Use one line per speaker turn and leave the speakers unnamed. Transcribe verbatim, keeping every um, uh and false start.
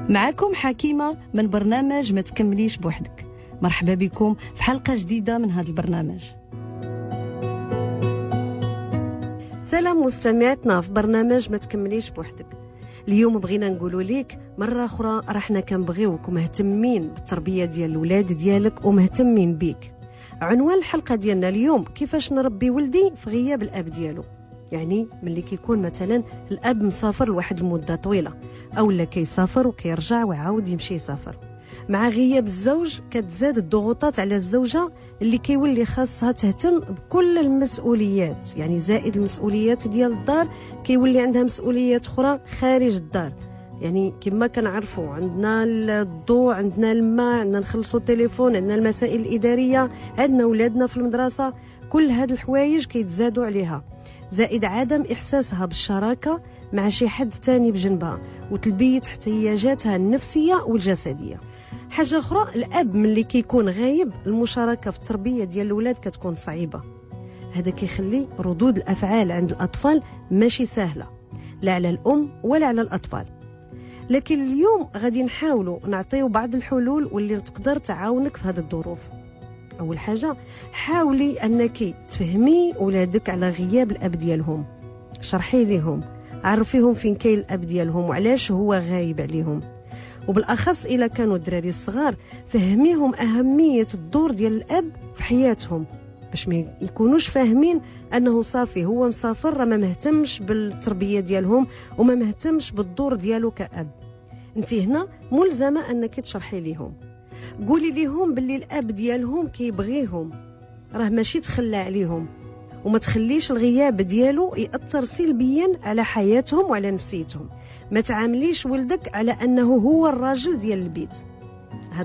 معكم حكيمة من برنامج ما تكمليش بوحدك. مرحبا بكم في حلقة جديدة من هذا البرنامج. سلام مستمعتنا في برنامج ما تكمليش بوحدك. اليوم بغينا نقولوا ليك مرة أخرى رحنا كنبغيوك ومهتمين بالتربية ديال الولاد ديالك ومهتمين بيك. عنوان الحلقة ديالنا اليوم كيفاش نربي ولدي في غياب الأب ديالو. يعني ملي كيكون مثلا الأب مسافر لواحد المدة طويلة أو لا كيسافر وكيرجع وعاود يمشي يسافر. مع غياب الزوج كتزاد الضغوطات على الزوجة اللي كيولي خاصها تهتم بكل المسؤوليات، يعني زائد المسؤوليات ديال الدار كيولي عندها مسؤوليات أخرى خارج الدار. يعني كما كنعرفوا عندنا الضوء، عندنا الماء، عندنا نخلصوا التليفون، عندنا المسائل الإدارية، عندنا ولادنا في المدرسة، كل هاد الحوايج كيتزادوا عليها، زائد عدم إحساسها بالشراكة مع شي حد تاني بجنبها وتلبية احتياجاتها النفسية والجسدية. حاجة أخرى، الأب ملي كيكون غايب المشاركة في التربية ديال الأولاد كتكون صعيبة. هذا كيخلي ردود الأفعال عند الأطفال ماشي سهلة، لا على الأم ولا على الأطفال. لكن اليوم غادي نحاولوا نعطيو بعض الحلول واللي تقدر تعاونك في هذه الظروف. أول حاجة، حاولي أنك تفهمي ولادك على غياب الأب ديالهم، شرحي لهم، عرفيهم فين كاين الأب ديالهم وعلاش هو غايب عليهم. وبالأخص إلا كانوا الدراري الصغار فهميهم أهمية الدور ديال الأب في حياتهم، باش ما يكونوش فاهمين أنه صافي هو مسافر راه ما مهتمش بالتربية ديالهم وما مهتمش بالدور ديالو كأب. انت هنا ملزمة أنك تشرحي لهم، قولي لهم باللي الأب ديالهم كيبغيهم، راه ماشي تخلى عليهم، وما تخليش الغياب ديالو يأثر سلبيا على حياتهم وعلى نفسيتهم. ما تعامليش ولدك على أنه هو الراجل ديال البيت. هاد